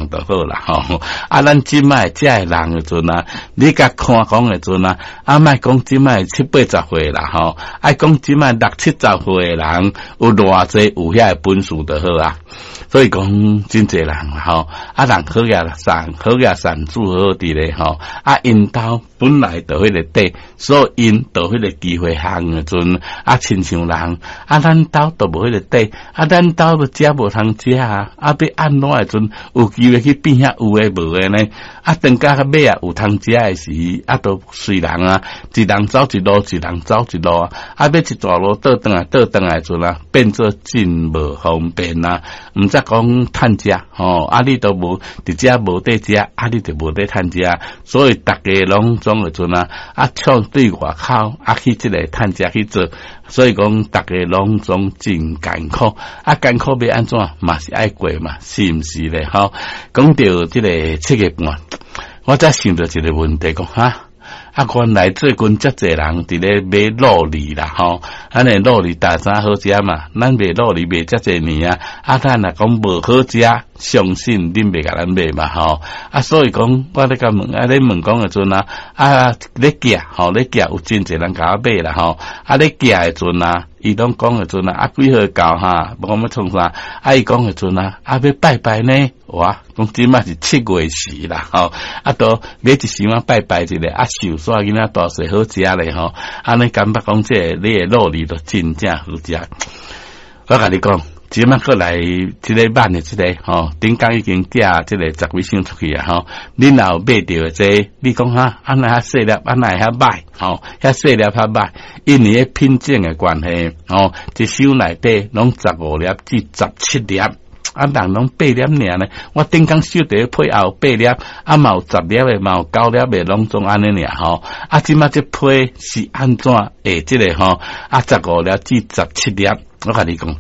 就好啦吼。啊，咱這擺遮的人的陣啊，你共看講的陣啊，啊，莫講這擺七八十歲啦吼，愛講這擺六七十歲的人有偌濟有遐个本事就好啊。所以講真濟人吼，啊人好額善，好額善做好佇咧吼，啊𪜶兜本來就彼個底，所以𪜶就彼個機會行的陣，啊親像人，啊咱兜都無彼個底，啊咱兜都食無通食啊，啊欲按怎的陣有機會去變遐有的無的呢？啊等甲尾啊有通食的時，啊都隨人啊，一人走一路，一人走一路啊，啊欲一大路倒轉來倒轉來陣啊，變做真無方便啊，毋則講趁食吼，啊你都無佇遮無得食，啊你就無得趁食，所以逐家攏總的陣啊，啊唱對外口啊去這个趁食去做，所以講逐家攏總真艱苦，啊艱苦欲按怎嘛是愛過嘛，是毋是咧？吼，講著這个七月半，我才想著一个問題，講哈。啊，原來最近遮濟人佇咧買酪梨啦，吼，按呢酪梨大早好食嘛，咱賣酪梨賣遮濟年啊，啊，咱若講無好食，相信恁袂共咱買嘛，吼，啊，所以講我咧共問，啊，咧問講的陣啊，啊，咧寄，吼，咧寄有真濟人共我買啦，吼，啊，咧寄的陣啊，伊攏講的陣啊，啊，幾號到哈，無講欲創啥，啊，伊講的陣啊，啊，欲拜拜呢，哇，講這馬是七月時啦，吼，啊，都買一箱仔拜拜一下，啊，壽徙囡仔大細好食咧，吼，按呢感覺講這个你的酪梨都真正好食。我共你講，這馬閣來這个慢的這个吼，頂工已經寄這个十幾箱出去啊，吼，恁若有買著的這個，你講哈，按呢較細粒，按呢會較歹，吼，遐細粒較歹，因為彼品種的關係，吼，一箱內底攏15粒至17粒。啊，人攏八粒爾呢，我頂工收著彼批也有八粒，啊嘛有十粒的，嘛有九粒的，攏總按呢爾吼。啊，這馬這批是按怎會這个吼？啊，15粒至17粒，我共你講，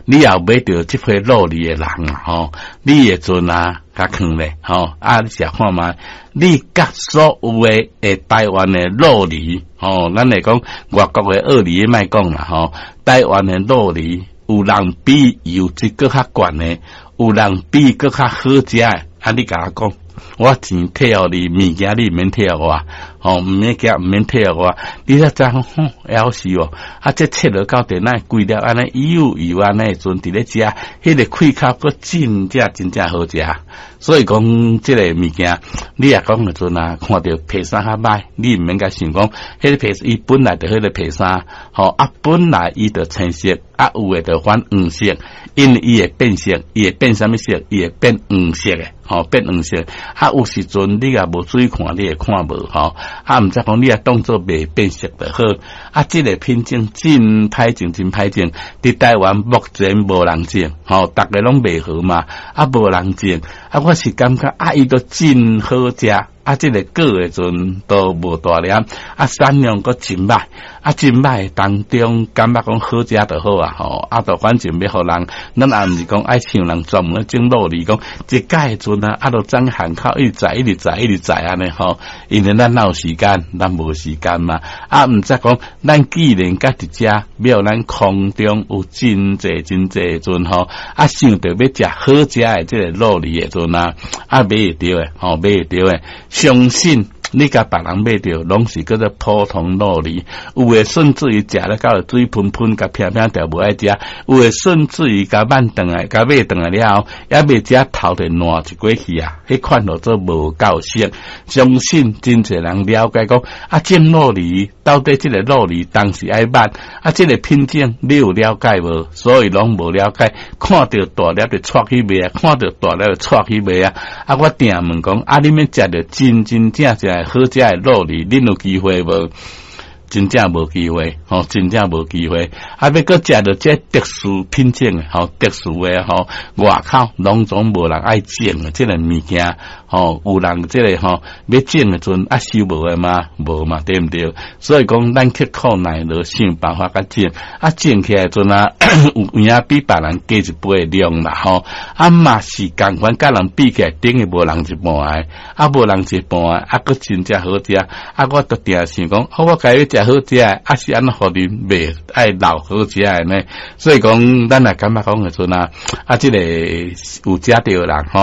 你若有買著這批酪梨的人啊，吼，你的陣啊，共囥咧，吼，啊，你食看覓，你佮所有的會台灣的酪梨，吼，咱來講外國的酪梨莫講啦，吼，台灣的酪梨有人比油質閣較懸的，有人比閣較好食的，啊，你共我講，我錢退予你，物件你毋免退予我，吼，毋免驚，毋免退予我，你才知影吼，枵死哦！啊，這切落到底哪規粒按呢油油按呢陣佇咧食，彼个氣口閣真正真正好食。所以講，這个物件，你若講的陣啊，看著皮衫較歹，你毋免共想講，彼个皮伊本來就彼个皮衫，吼啊，本來伊就青色，啊有的就反黃色，因為伊會變色，伊會變啥物色？伊會變黃色的，吼，變黃色。啊，有時陣你若無注意看，你會看無吼。啊，毋則講你若當做袂變色就好。啊，這个品種真歹種，真歹種。佇台灣目前無人種，吼，逐家攏賣好嘛，啊，無人種。啊，我是感覺啊，伊都真好食。啊，這个果的陣都無大粒，啊，產量閣真歹，啊，真歹當中感覺講好食就好啊，吼，啊，就反正欲予人，咱也毋是講愛像人專門種酪梨，講一擺的陣啊，啊，就踮巷口一直載，一直載，一直載按呢吼，因為咱哪有時間，咱無時間嘛，啊，毋則講咱既然佮佇遮，予咱空中有真濟真濟陣吼，啊，想著欲食好食的這个酪梨的陣啊，啊，買會著的，吼，買會著的。相信你共別人買著，攏是叫做普通酪梨，有的甚至於食了到水噴噴，共偏偏著無愛食；有的甚至於共挽轉來，共買轉來了後，猶未食頭就爛一過去啊！彼款叫做無夠色。相信真濟人了解講，啊，種酪梨到底這个酪梨當時愛挽，啊，這个品種你有了解無？所以攏無了解，看著大粒就掣去賣啊，看著大粒就掣去賣啊！啊，我定問講，啊，恁欲食著真真正正好食的酪梨，恁有機會無？真正無機會，吼，真正無機會。啊，欲閣食著這特殊品種的，吼，特殊的吼，外口攏總無人愛種的這个物件，吼，有人這个吼欲種的陣啊收無的嘛？無嘛，對毋對？所以講，咱刻苦耐勞，想辦法共種，啊，種起來陣啊，有影比別人加一倍的量啦，吼，啊嘛是仝款，佮人比起來，等於無人一半的，啊，無人一半的，啊，閣真正好食，啊，我都定想講，我家欲食好食的，啊是按怎予恁袂愛留好食的呢？所以講，咱若感覺講的陣啊，啊，這个有食著的人吼。